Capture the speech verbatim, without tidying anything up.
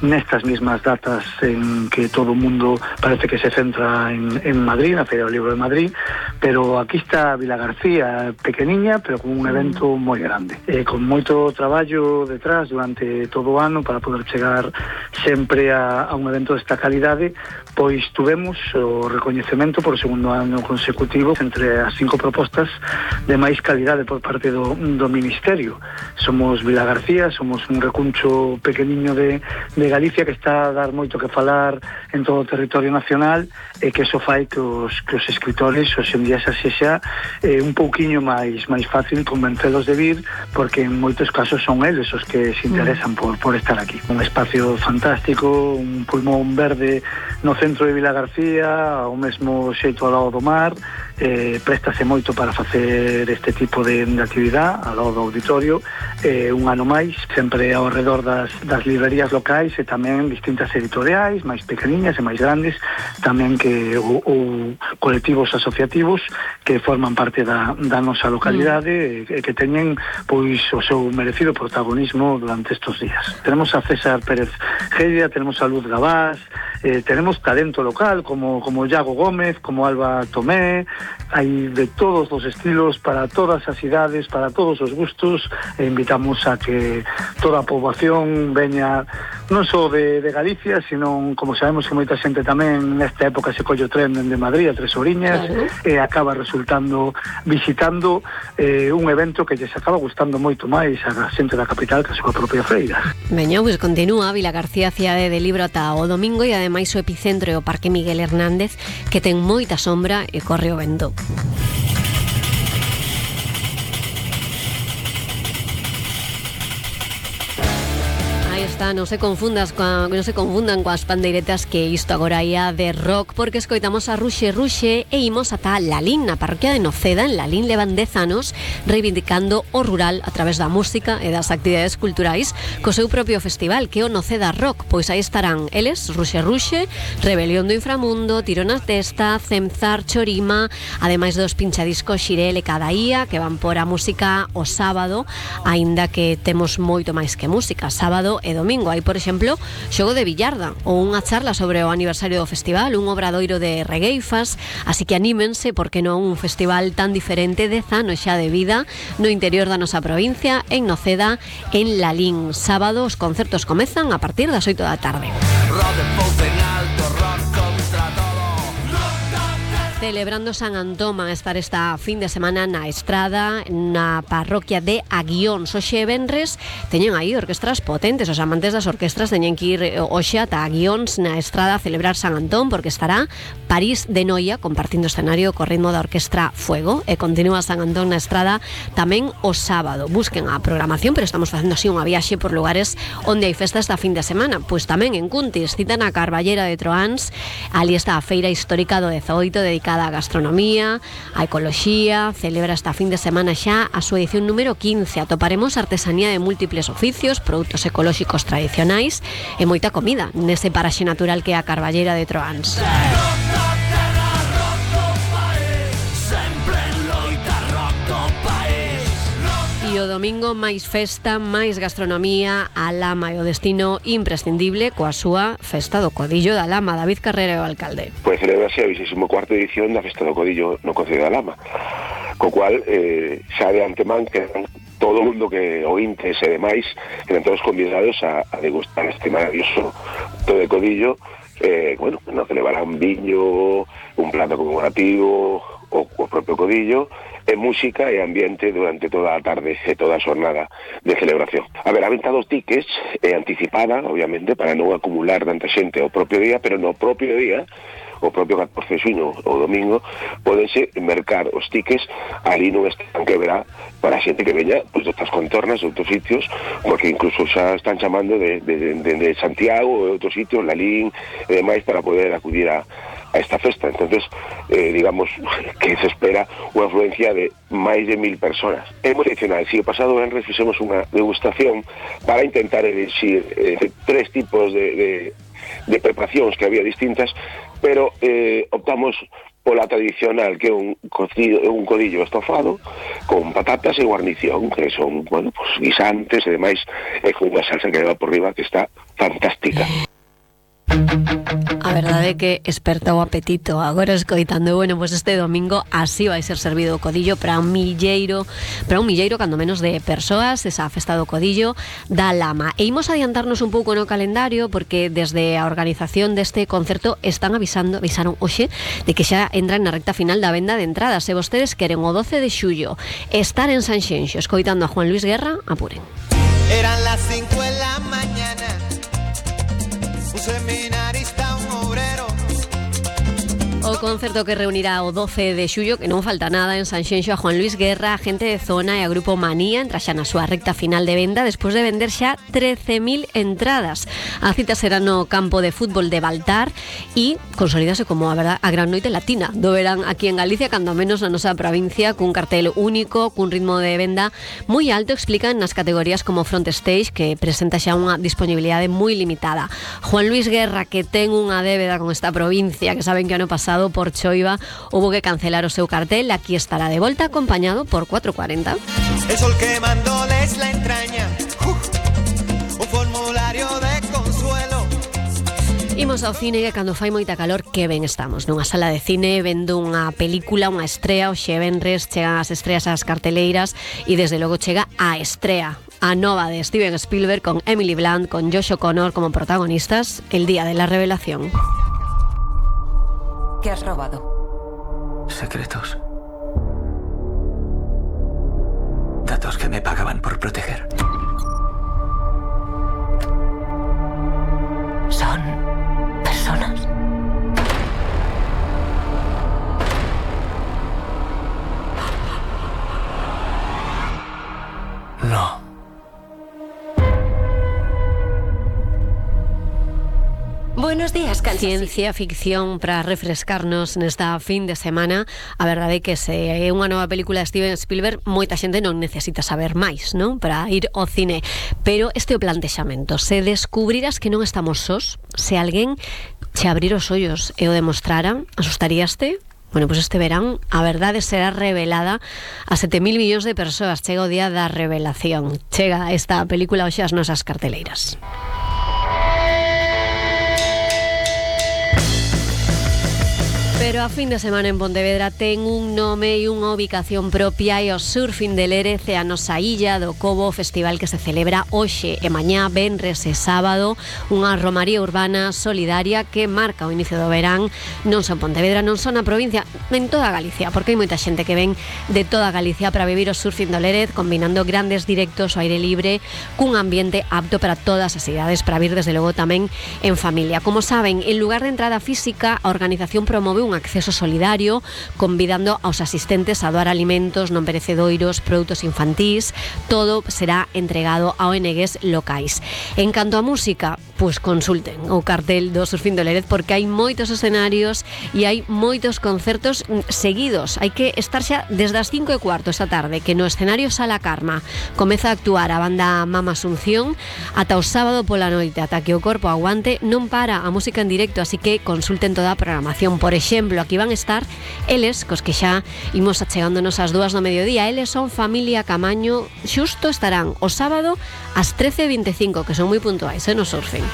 Nestas mismas datas en que todo o mundo parece que se centra en, en Madrid, na Feira do Libro de Madrid, pero aquí está Vilagarcía, pequeniña, pero con un evento moi grande, eh, con moito traballo detrás durante todo o ano para poder chegar sempre a, a un evento desta calidade. Pois tuvemos o recoñecemento por segundo ano consecutivo entre as cinco propostas de máis calidade por parte do, do Ministerio. Somos Vilagarcía, somos un recuncho pequeniño de de Galicia que está a dar moito que falar en todo o territorio nacional e que iso fai que os, que os escritores hoxe en día xa sexa eh, un pouquiño máis máis fácil convencelos de vir, porque en moitos casos son eles os que se interesan por, por estar aquí. Un espacio fantástico, un pulmón verde no centro de Vilagarcía, ao mesmo xeito ao lado do mar, eh, préstase moito para facer este tipo de, de actividade ao lado do auditorio, eh, un ano máis, sempre ao redor das, das librerías locais e tamén distintas editoriais máis pequeniñas e máis grandes, tamén que ou, ou colectivos asociativos que forman parte da, da nosa localidade mm. e que teñen pois o seu merecido protagonismo durante estes días. Tenemos a César Pérez Geria, tenemos a Luz Gabás, eh, tenemos talento local como, como Iago Gómez, como Alba Tomé, hai de todos os estilos para todas as idades, para todos os gustos, e invitamos a que toda a poboación veña non só de, de Galicia, sino, como sabemos que moita xente tamén nesta época se colle o tren dende Madrid a Tres Oriñas, claro. E acaba resultando visitando eh, un evento que lles acaba gustando moito máis a xente da capital que a súa propia feira. Veño, pois continúa Vilagarcía Cidade de Libro ata o domingo, e ademais o epicentro é o Parque Miguel Hernández, que ten moita sombra e corre o vento. Está, non se confundas coa, non se confundan coas pandeiretas, que isto agora ia de rock, porque escoitamos a Ruxe Ruxe e imos ata Lalín, na parroquia de Noceda. En Lalín levan dez anos reivindicando o rural a través da música e das actividades culturais co seu propio festival, que é o Noceda Rock. Pois aí estarán eles, Ruxe Ruxe, Rebelión do Inframundo, Tiro na Testa, Cemzar, Chorima, ademais dos pinchadiscos Xirel e Cadaía, que van por a música o sábado, aínda que temos moito máis que música, sábado e domingo. Hai, por exemplo, xogo de billarda ou unha charla sobre o aniversario do festival, un obradoiro de regueifas, así que anímense, porque non un festival tan diferente, dez anos xa de vida no interior da nosa provincia, en Noceda, en Lalín. Sábado os concertos comezan a partir das oito da tarde. Celebrando San Antón van a estar esta fin de semana na Estrada, na parroquia de Aguións. Hoxe venres teñen aí orquestras potentes, os amantes das orquestras teñen que ir hoxe ata Aguións na Estrada a celebrar San Antón, porque estará París de Noia compartindo escenario co ritmo da orquestra Fuego, e continúa San Antón na Estrada tamén o sábado. Busquen a programación, pero estamos facendo así unha viaxe por lugares onde hai festa esta fin de semana. Pois tamén en Cuntis, citan a Carballera de Troáns, ali está a feira histórica do dezoito dedicada a gastronomía, a ecoloxía. Celebra esta fin de semana xa a súa edición número quince. Atoparemos artesanía de múltiples oficios, produtos ecolóxicos tradicionais e moita comida nese paraxe natural que é a Carballera de Troáns. E o domingo máis festa, máis gastronomía, a Lama é o destino imprescindible coa súa Festa do Codillo da Lama. David Carrera é o alcalde. Pois celebrase a vigésima cuarta edición da Festa do Codillo no Concello da Lama, co cual eh, xa de antemán que todo o mundo que ointes e demais quedan todos convidados a, a degustar este maravilloso todo de codillo. Eh, bueno, nos celebrarán viño, un plato conmemorativo, o, o propio codillo, e música e ambiente durante toda a tarde e toda a xornada de celebración. A ver, a venta dos tickets é anticipada, obviamente, para non acumular tanta xente o propio día, pero no propio día, o propio catorce de xuño ou domingo, podense mercar os tickets ali nun stand que verá para a xente que veña pues, de outras contornas, de outros sitios, porque incluso xa están chamando de, de, de, de Santiago e outros sitios, Lalín e demais, para poder acudir a a esta festa. Entonces, eh, digamos que se espera unha afluencia de máis de mil personas. É moi tradicional. Si o pasado venres fixemos unha degustación para intentar elegir eh, tres tipos de, de, de preparacións que había distintas, pero eh, optamos pola tradicional, que é un cocido, un codillo estofado con patatas e guarnición, que son, bueno, pues guisantes e demais, e con unha salsa que leva por riba que está fantástica. A verdade é que esperta o apetito agora escoitando. Bueno, pues este domingo así vai ser servido o codillo para un milleiro, para un milleiro cando menos de persoas, esa festa do codillo da Lama. E imos adiantarnos un pouco no calendario porque desde a organización deste concerto están avisando, avisaron hoxe de que xa entran na recta final da venda de entradas. Se vostedes queren o doce de xullo estar en Sanxenxo escoitando a Juan Luis Guerra, apuren. Eran las cinco de la mañana, un seminarista, un obrero. O concerto que reunirá o doce de xullo, que non falta nada, en Sanxenxo, a Juan Luis Guerra, a Gente de Zona e a Grupo Manía, entra xa na súa recta final de venda despois de vender xa trece mil entradas. A cita será no campo de fútbol de Baltar e consolidase como a, verdad, a gran noite latina do verán aquí en Galicia, cando menos na nosa provincia, cun cartel único, cun ritmo de venda moi alto, explican nas categorías como Front Stage, que presenta xa unha disponibilidade moi limitada. Juan Luis Guerra, que ten unha débeda con esta provincia, que saben que ano pasado por choiva hubo que cancelar o seu cartel, aquí estará de volta acompañado por cuatro cuarenta. El sol quemándoles la entraña, uh, un formulario de consuelo. Imos ao cine, que cando fai moita calor, que ben estamos nunha sala de cine vendo unha película, unha estrea. O venres chegan as estreas ás carteleiras e desde logo chega a estrea, a nova de Steven Spielberg, con Emily Blunt, con Josh O'Connor como protagonistas, El día de la revelación. ¿Qué has robado? Secretos. Datos que me pagaban por proteger. ¿Son personas? No. Buenos días, Kansas. Ciencia ficción para refrescarnos nesta fin de semana. A verdade é que se é unha nova película de Steven Spielberg, moita xente non necesita saber máis, non? Para ir ao cine. Pero este é o plantexamento. Se descubriras que non estamos sós, se alguén che abrir os ollos e o demostrara, asustaríaste? Bueno, pues este verán a verdade será revelada a sete mil millóns de persoas. Chega o día da revelación. Chega esta película hoxe ás nosas carteleiras. Pero a fin de semana en Pontevedra ten un nome e unha ubicación propia, e o Surfing de Lérez e a nosa illa do Cobo, festival que se celebra hoxe e mañá, venres e sábado, unha romaría urbana solidaria que marca o inicio do verán non só en Pontevedra, non só na provincia, en toda Galicia, porque hai moita xente que ven de toda Galicia para vivir o Surfing do Lérez, combinando grandes directos ao aire libre cun ambiente apto para todas as idades, para vir desde logo tamén en familia. Como saben, en lugar de entrada física, a organización promove un acceso solidario, convidando aos asistentes a doar alimentos non perecedoiros, produtos infantís. Todo será entregado a O N Ges locais. En canto a música, pois consulten o cartel do Surfing do Lérez, porque hai moitos escenarios e hai moitos concertos seguidos. Hai que estar xa desde as cinco e cuarto esta tarde, que no escenario Sala Karma comeza a actuar a banda Mama Asunción, ata o sábado pola noite, ata que o corpo aguante, non para a música en directo, así que consulten toda a programación. Por exemplo, aquí van a estar eles, cos que xa imos achegándonos ás dúas do mediodía. Eles son Familia Camaño, xusto estarán o sábado ás trece e vinte e cinco, que son moi puntuais, eh, no Surfing.